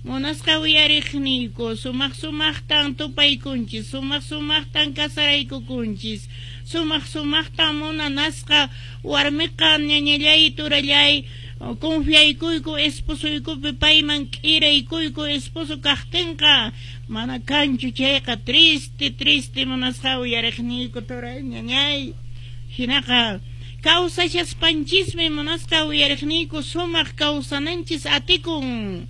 Munasqa uyariqniyku, sumaq sumaqtan tupaykunchis, sumaq sumaqtan casaraykukunchis, sumaq sumaqtan munanasqa warmiqa ñañallay turallay confiaykuyku esposoykupi, payman k'iraykuyku esposo kaqtinqa, mana kanchu chayqa triste, triste munasqa uyariqniyku turay ñañay. Hinaqa kawsashaspanchismi munasqa uyariqniyku sumaq kawsananchis atikun.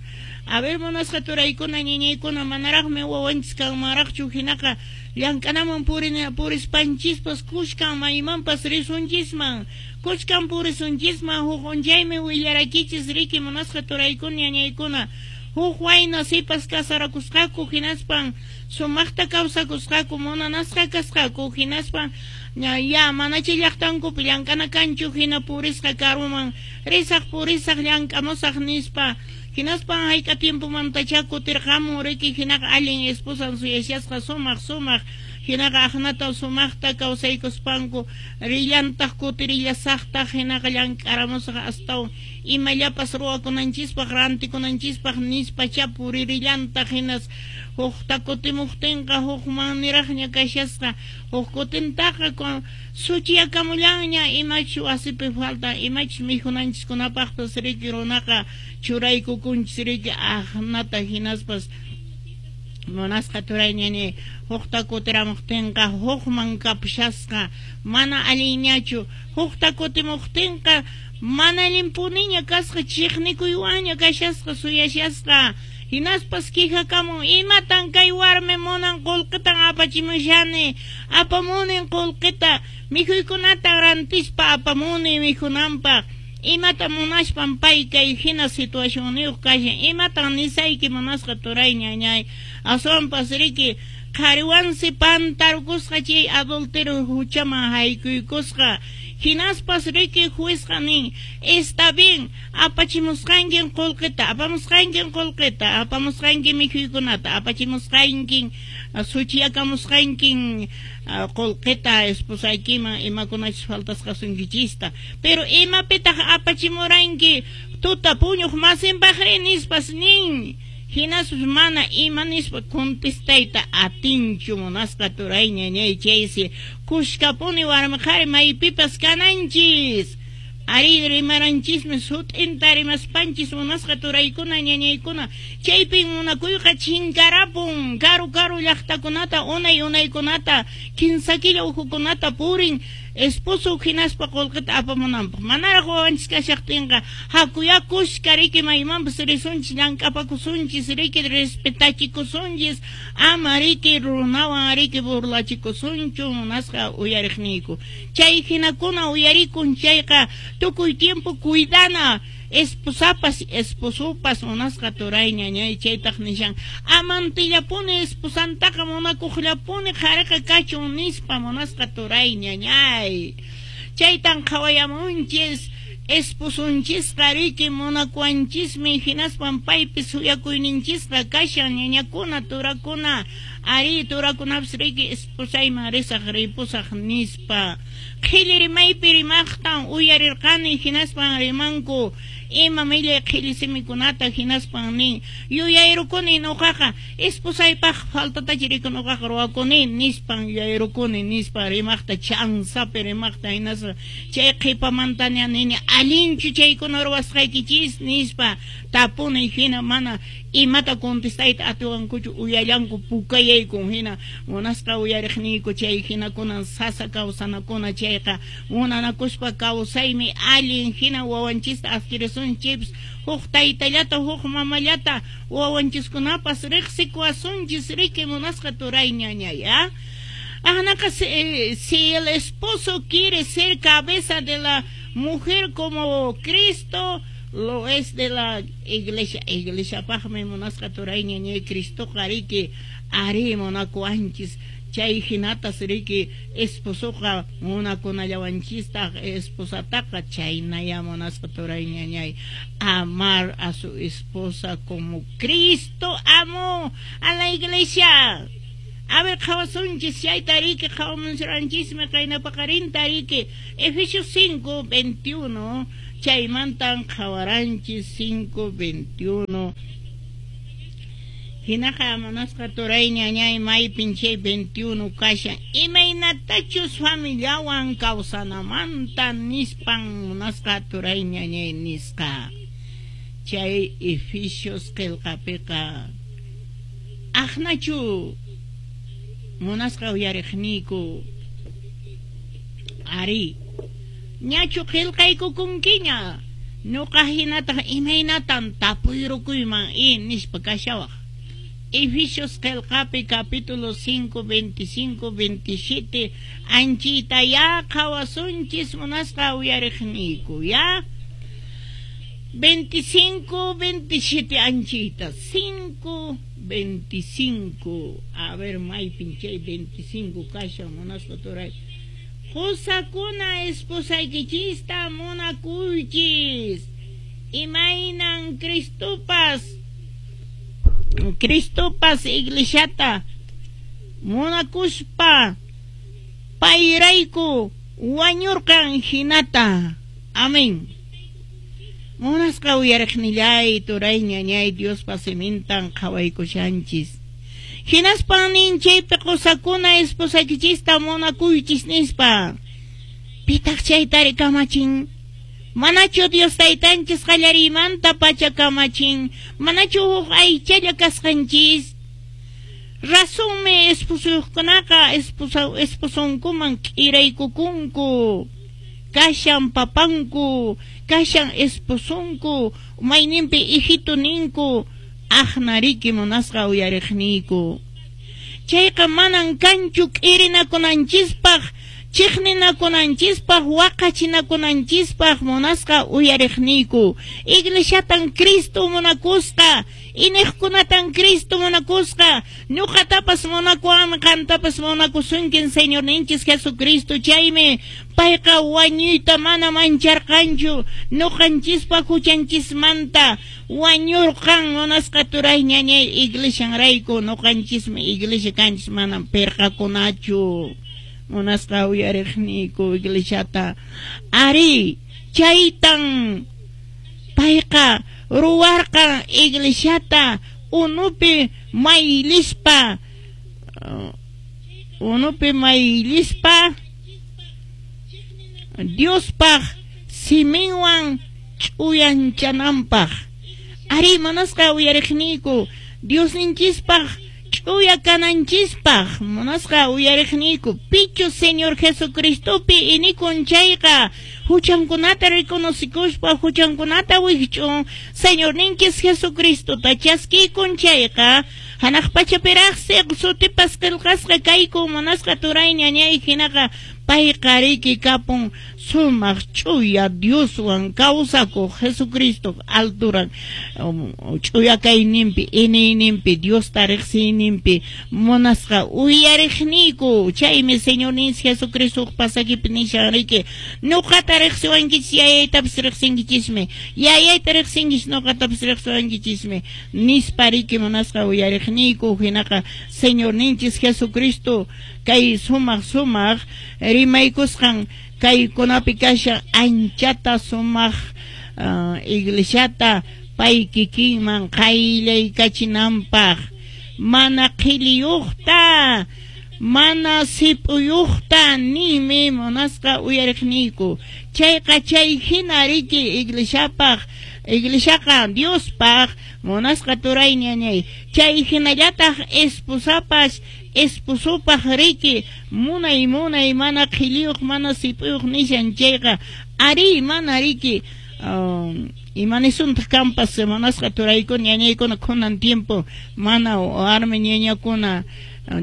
A ver, munasqa turaykuna ñañaykuna, manaraqmi wawanchis kanmanraqchu, hinaqa llank'anaman purispanchispas kushkan maymanpas risunchisman, kushkan purisunchisman. Huk unchaymi willarakichis riki munasqa turaykuna ñañaykuna, huk wayna sipas casarakusqaku, hinaspan sumaqta kawsakusqaku, munanasqa kasqaku, hinaspan ya manacha llaqtankupi llank'ana kanchu, hina purisqa karuman risaq purisaq llank'amusaq nispa. Hinaspan hayk'a tiempomantacha kutirqamun riki, hinaqa allin esposan suyashasqa sumaq sumaq, hinaqa aqnata sumaqta kawsaykuspanku rillantaq kutirillasaqtaq, hinaqa llank'aramusaq astawan imallapas ruwakunanchispaq rantikunanchispaq nispacha puririllantaq. Hinas hukta kutimuqtinqa hukman niraqña kashasqa, huk kutintaqa suchiyakamullanña imachus wasipi falta, imachus mikhunanchiskunapaqpas riki runaqa churaykukunchis riki aqnata. Hinaspas munasqa turay ñañay, hukta kutiramuqtinqa hukman kapushasqa, mana allinñachu. Hukta kutimuqtinqa mana allinpuniña kasqa, chiqnikuywanña kashasqa suyashasqa. Hinaspas quejakamun, imatan kay warmi munan, qullqitan apachimushani, apamunin qullqita, mikhuykunata rantispa apamuni mikhunanpaq, imata munashpan pay kay hina situacionniyuq kashan, imatan nisayki munasqa turay ñañay. Aswanpas riki qhariwansi pantarukusqa, chay adulterio huchaman haykuykusqa. Hinaspas riki juezqa nin: "Está bien, apachimusqankin qullqita, apamusqankin qullqita, apamusqankin mikhuykunata, apachimusqankin, suchiyakamusqankin qullqita esposaykiman imakunachus faltasqasunkichista, pero imapitaq apachimuranki tuta puñuq masinpaqri?" nispas nin. Hinaspas mana ima nispa contestayta atinchu munasqa turay ñañay. Chaysi kushkapuni warmi qhari maypipas kananchis. Ari, rimaranchismi sut'inta rimaspanchis munasqa turaykuna ñañaykuna, chaypin munakuyqa chinkarapun. Karu karu llaqtakunata unay unaykunata kinsa killa ukhukunata purin esposo hinaspa qullqita apamunanpaq. Manaraq wawanchis kashaqtinqa hakuyá kushka riki maymanpas risunchis, llank'apakusunchis riki, respetachikusunchis, ama riki runawan riki burlachikusunchu munasqa uyariqniyku. Chay hinakuna uyarikun chayqa tukuy tiempo cuidana esposapas esposopas munasqa turay ñañay. Chaytaq nishan amantillapuni esposantaqa munakuqllapuni qhariqa kachun nispa munasqa turay ñañay. Chaytan qhawayamunchis, esposonchisqa riki munakuwanchismi, hinaspan paypi suyakuyninchisqa kashan ñañakuna turakuna. Ari, turakunapas riki esposayman risaq ripusaq nispa qhilli rimaypi rimaqtan uyarirqani. Hinaspan rimanku ima millay qhilli simikunata. Hinaspan nin: "Yuyayrukuni nuqaqa esposaypaq faltatachi riki nuqaqa ruwakuni nispan yuyayrukuni" nispa rimaqta, chansapi rimaqta. Hinaspa chay qhipamantaña nini: "Allinchu chaykuna ruwasqaykichis?" nispa tapuni. Hina mana imata contestayta atiwankuchu, uyallanku pukayaykun. Hina munasqa uyariqniyku, chay hinakunan sasa kawsanakuna. Chayqa munanakuspa kawsaymi allin. Hina wawanchista adquirisunchis huk taytallata huk mamallata, wawanchiskunapas riqsikuwasunchis riki munasqa turay ñañay. Anaqa si el esposo quiere ser cabeza de la mujer como Cristo lo es de la iglesia, iglesiapaqmi munasqa turay ñañay Cristoqa riki ari munakuwanchis, chay hinatas riki esposoqa munakunallawanchistaq esposataqa. Chaynaya munasqa turay ñañay, amar a su esposa como Cristo amó a la iglesia. A ver, qhawasunchis chayta riki, qhawamunsiranchismi qayna paqarinta riki Efesios 5:21, chaymantan qhawaranchis 5:21. Hinaqa munasqa turay ñañay maypin chay 21 kashan imaynatachus familiawan kawsanamanta nispan munasqa turay ñañay nisqa chay Efesios qillqapiqa aqnachu munasqa uyariqniyku ari ñachu qillqaykukunkiña nuqa hinataq imaynatan tapuyrukuyman i nispa kashawaq. Efesios qillqapi capítulo 5, 25, 27 anchita ya qhawasunchis munasqa uyariqniyku ya 25, 27 anchita 5, 25 a ver maypin chay 25 kashan munasqa turay qusakuna esposaykichista munakuychis imaynan Cristopas iglesiata munakuspa payrayku wañurqan hinata. Amén. Munasqa uyariqnillay turay ñañay Diospa simintan qhawaykushanchis. Hinaspan nin chaypi qusakuna esposaykichista munakuychis nispa. Pitaq chaytari kamachin? Manachu Dios taytanchis qallariymanta pacha kamachin, manachu huk aychalla kasqanchis. Razonmi esposuyuqkunaqa esposonkuman k'iraykukunku. Kashan papanku, kashan esposonku, mayninpi hijito ninku, aqnariki munasqa uyariqniyku. Chayqa manan kanchu k'irinakunanchispaq, chiqninakunanchispaq, waqachinakunanchispaq munasqa uyariqniyku. Iglesiatan Cristo munakusqa, iniqkunatan Cristo munakusqa, ñuqatapas munakuwanmi, qantapas munakusunkin Señorninchis Jesucristo. Chaymi payqa wañuyta mana mancharqanchu, ñuqanchispaq huchanchismanta wañurqan munasqa turay ñañay iglesianrayku. Ñuqanchismi iglesia kanchis, manam pirqakunachu. Munasqa uyariqniyku iglesiata ari chaytan payqa ruwarqan iglesiata unupi maylispa Diospaq siminwan ch'uyanchananpaq. Ari munasqa uyariqniyku Diosninchispaq ch'uya kananchispaq munasqa uyariqniyku pichu Señor Jesucristopi inikun chayqa huchankunata reconocikuspa huchankunata wikch'un Señorninchis Jesucristota chaskikun chayqa hanaq pachapiraqsi sutipas qillqasqa kayku munasqa turay ñañay hinaqa payqa riki kapun sumaq ch'uya Dioswan kawsakuq Jesucristo alturan ch'uya kayninpi iniyninpi Diosta riqsiyninpi munasqa uyariqniyku. Chaymi Señorninchis Jesucristo pasakipi nishan riki ñuqata riqsiwankichis yayaytapas riqsinkichismi, yayayta riqsinkichis ñuqatapas riqsiwankichismi nispa riki munasqa uyariqniyku. Hinaqa Señorninchis Jesucristo kay sumaq sumaq rimaykusqan kaykunapi kashan anchata sumaq iglesiata pay kikinman qayllaykachinanpaq mana qhilliyuqta mana sip'uyuqta ninmi munasqa uyariqniyku. Chayqa chay hina riki iglesiapaq iglesiaqa Diospaq munasqa turay ñañay chay hinallataq esposapas esposopaq riki munay munay mana qhilliyuq mana sip'uyuq nishan chayqa ari mana riki imanisuntaq kampas munasqa turaykuna ñañaykuna kunan tiempo mana warmi ñañakuna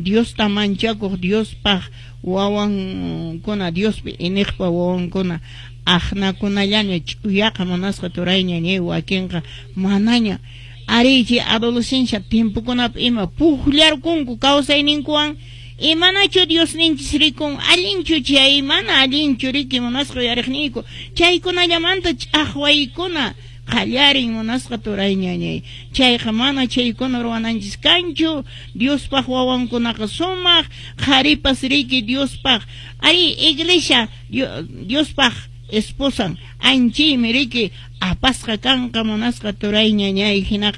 Diosta manchakuq Diospaq wawankuna Diospi iniqpa wawankuna aqnakunallaña ch'uyaqa munasqa turay ñañay wakinqa manaña ari chay adolescencia tiempokunapi ima puqllarkunku kawsayninkuwan imanachu Diosninchis rikun allinchu chay mana allinchu riki munasqa uyariqniyku chaykunallamanta ch'aqwaykuna qallarin munasqa turay ñañay chayqa mana chaykuna ruwananchis kanchu. Diospaq wawankunaqa sumaq qharipas riki Diospaq ari iglesia Diospaq esposan anchaymi riki apasqa kanqa munasqa turay ñañay hinaqa.